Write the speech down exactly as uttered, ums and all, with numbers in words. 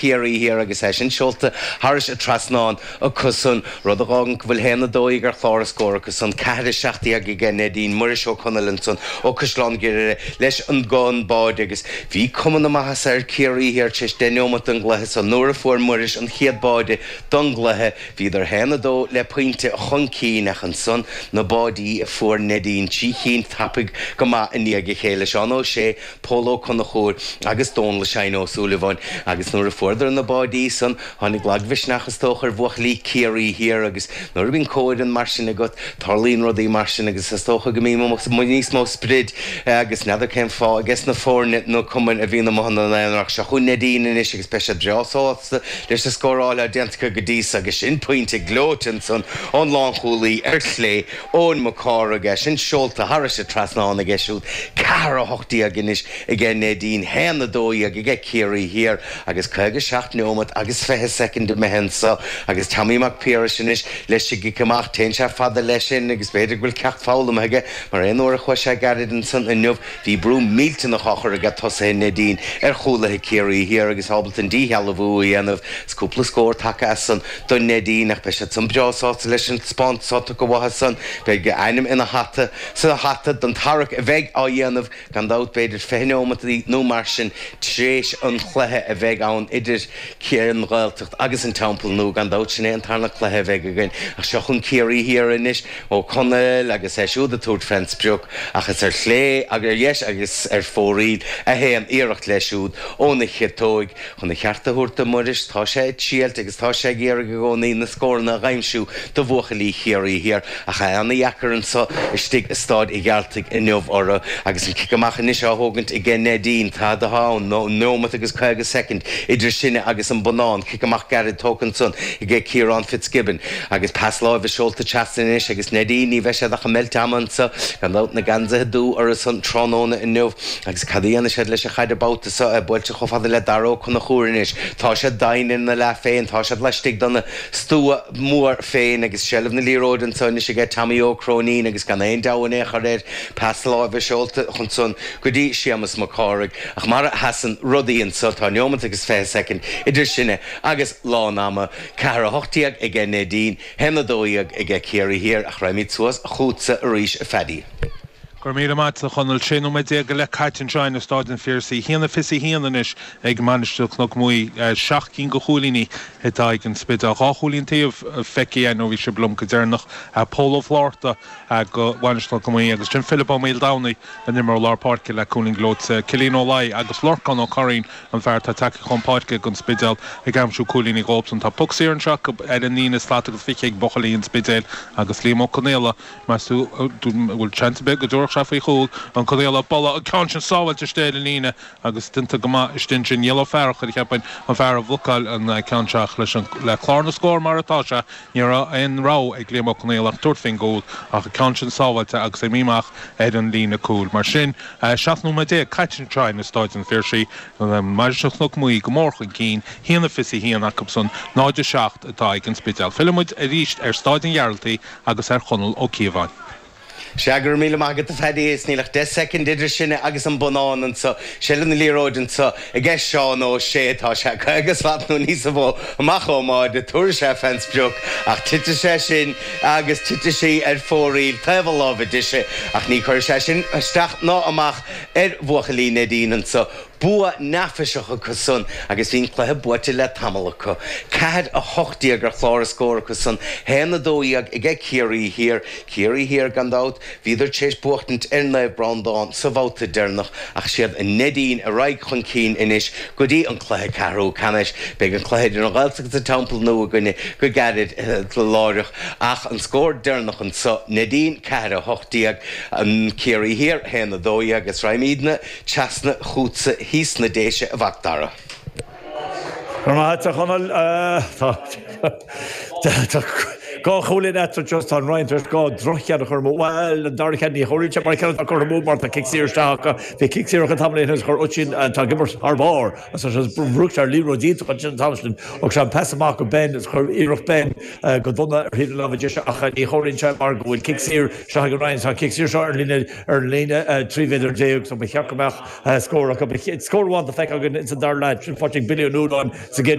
Ciarraí Thiar agus é sin seolta thairis an trasnán acusan, rud a fhágann go bhfuil haon a dó dhéag ar chlár na scór acusan, ceathair a seacht déag aige Neidín, Muiris Ó Conaill ansan ó Caisleán Ghriaire leis an gcon báide agus bhí cuma na maitheasa ar Ciarraí Thiar tar éis deich neomat den gcluiche so nuair a fuair Muiris an chéad báide don gcluiche bhíodar haon a dó le pointe chun cinn ach ansan na báidí a fuair Neidín trí chinn tapaidh go maith i ndiaidh a chéile, Seán Ó Sé, Pól Ó Conchúir agus Dónal Shine Ó Súilleabháin agus nuair a fuaireadar na báidí san, tháinig lagmhisneach is dócha ar bhuachaillí Ciarraí Thiar agus nuair a bhíonn comhfhoireann mar sin agat, tarlaíonn rudaí mar sin agus is dócha go mbíonn níos mó sprid agus n'fheadar cén fáth ages na foirne nó cumainn a bhíonn amuigh ina n-aonar ach seo chugainn Neidín anois agus beidh siad breá sásta leis an scóráil atá déanta acu go dtí so agus sin pointe gleoite ansan ón lánchúlaí ar chlé, Eoin Mac Cárthaigh, é sin seolta thairis an trasnán aige siúd. Ceathair a hocht déag anois aige Neidín, haon a dó dhéag aige Ciarraí Thiar agus caoga seacht neomat agus fiche soicind imithe anso agus Tommy Mac Piarais anois leis an gcic amach. Téann sé fada leis sin agus b'fhéidir go bhfuil ceacht foghlamtha aige mar aon uair a chuaigh sé gairid ansan inniu bhí brú millteanach á chur aige tosaithe Neidín ar chúlaithe Ciarraí Thiar agus ábalta an díshealbhú a dhéanamh. Is cúpla scór tagtha as san do Neidín ach beidh siad san breá sásta leis an taispeántas atá tugtha uathu san. Beidh a ainm ina hata sa hata don tarrac a bheidh á dhéanamh gan dabht b'fhéidir fiche neomat nó mar sin tréis an chluiche a bheidh ann idir an Ghaeltacht agus an Teampall Nua. Gan dabht sin é an tarna cluiche a bheidh againn. Ach seo chugainn Ciarraí Thiar anois, Ó Conaill agus é siúd ag tabhairt fén sprioc ach is ar chlé agus ar dheis agus ar fóraoil a théann iarracht leis siúd óna chiotóig. Chun a cheart a thabhairt do Mhuiris, tá sé ag triailt agus tá sé ag iarraidh i gcónaí na scóranna a dh'aimsiú do bhuachaillí Chiarraí Thiar ach é ana-dheacair anso istigh i Stáid a' Ghearaltaigh inniu orthu. Agus an cic amach anois á thógaint aige Neidín, tada atá ann ná neomat agus caoga soicind idir sinne agus an bonnán. Cic amach gairid tógtha ansan aige Ciarán Fitzgibbon agus pas láimhe seolta trasna anois agus Neidín, ní bheidh siad ach ag meilt ama anso, gan dabht, na geansaithe dubha orthu san tráthnóna inniu. Agus cad a dhéanfaidh siad leis an chaid an babhta seo, é buailte chomh fada le Dara Ó Conchúir anois. Tá siad doimhin ina leath féin, tá siad laistigh den stua mór féin agus seilbh na liathróide anso anois aige Tommy Ó Cróinín agus gan aon deabhadh in aon chor air, pas láimhe seolta ansan go dtí Séamus Mac Cárthaigh. Ach mar a sheasann rudaí anso, tá neomat agus fiche soicind idir sinne agus lán ama. Ceathair a hocht déag aige Neidín, haon a dó dhéag aige Ciarraí Thiar ach raghaimid suas chugatsa arís a Phaddy. Go raibh míle maith agat, a Chonaill. Sé nóiméad déag go leith caite anseo in Stáid an Phiarsaigh. A haon a fiche a haon anois ag Mainistir Chnoc Muaidhe. Seacht gcinn de chúilíní atá ag an Spidéal. Dhá chúilín taobh feicthe againn ó bhí sibh liom go deireanach. Pól Ó Flátharta do Mhainistir Chnoc Muaidhe agus sin Philip Ó Maoldomhnaigh, an imreoir lár páirce le cúilín gleoite. Cillian Ó Laoi agus Lorcán Ó Curraoin, an fear atá tagtha chun páirce don Spidéal, ag aimsiú cúilíní dhóibhsan. Tá poc saor anseo acu ar an líne slat agus fiche ag buachaillí an Spidéil agus Liam Ó Conaola. Meas tú an bhfuil seans ar bith go dtabharfadh sé faoi chúl an Conaola buille an ceann sin sábháilte istigh ar an líne agus déanta go maith istigh ansin. Niall Ó Fearchair, cheapfainn, an fear a bhlocáil an ceann seo ach leis an le clár na scór mar atá sé, ní raibh aon rogha ag Liam Ó Conaola ach tabhairt faoin gcúl ach an ceann sin sábháilte agus imithe amach ar an líne cúil. Mar sin, seacht nóiméad déag caite anseo in Stáid an Phiarsaigh, Mainistir Chnoc Muaidhe go mór chun cinn, haon a fiche a haon acusan, náid a seacht atá ag an Spidéal. Fillfidh muid arís ar Stáid an Ghearaltaigh agus ar Chonall Ó Cíobháin. Sea, go raibh míle maith agat a Phaddy, is níl ach deich soicind idir sinne agus an bonnán anso. Seilbh na liathróide anso aige Seán Ó Sé. Tá sé caoga slat nó níosa mhó amach ón mbáide. Tabharfaidh sé fén sprioc ach titfidh sé sin agus titfidh sí ar fóraoil taobh a láimhe deise. Ach ní chuirfidh sé sin isteach ná amach ar bhuachaillí Neidín anso. Bua neafaiseach acu san agus bhí an cluiche buaite le tamall acu. Ceathair a hocht déag ar chlár na scór acu san, haon a dó dhéag aige Ciarraí Thiar. Ciarraí Thiar gan dabht, bhíodar tar éis buachtaint ar Naomh Breandán sa bhabhta deireanach ach siad Neidín a raghaidh chun cinn anois go dtí an cluiche ceathrú ceannais. Beidh an cluiche idir an Ghaeltacht agus an Teampall Nua againne go gairid láithreach ach an scór deireanach anso, Neidín ceathair a hocht déag, Ciarraí Thiar haon a dó dhéag agus raghaimidne Trasna chugatsa thíos sna Déise, a Mhac Dara. Go raibh maith agat, a Chonaill. Tá Dhá chúilín eatarthu just tá an Rinn tar éis dhá dhroch-cheann a chur amú. Bhuel, an dara ceann ní chomhaireann sé mar ceann atá curtha amú mar tá cic saor isteach acu. Bhí cic saor acu tamall ó shin agus chuir Oisín atá ag imirt thar barr agus bhrúigh sé ar liathróid iontach ansin an t-am sin. Thug sé an pas amach go Ben agus chuir iarracht Ben go dona ar thaobh na láimhe deise ach ní chomhaireann sé mar go bhfuil cic saor isteach ag an Rinn. Tá an cic saor seo ar líne ar líne trí mhéadar déag so ba cheart go mbeadh scór acu. Scór amháin feicthe againn ins an dara leath sin faighte ag Billy Ó Nualláin sa gcéad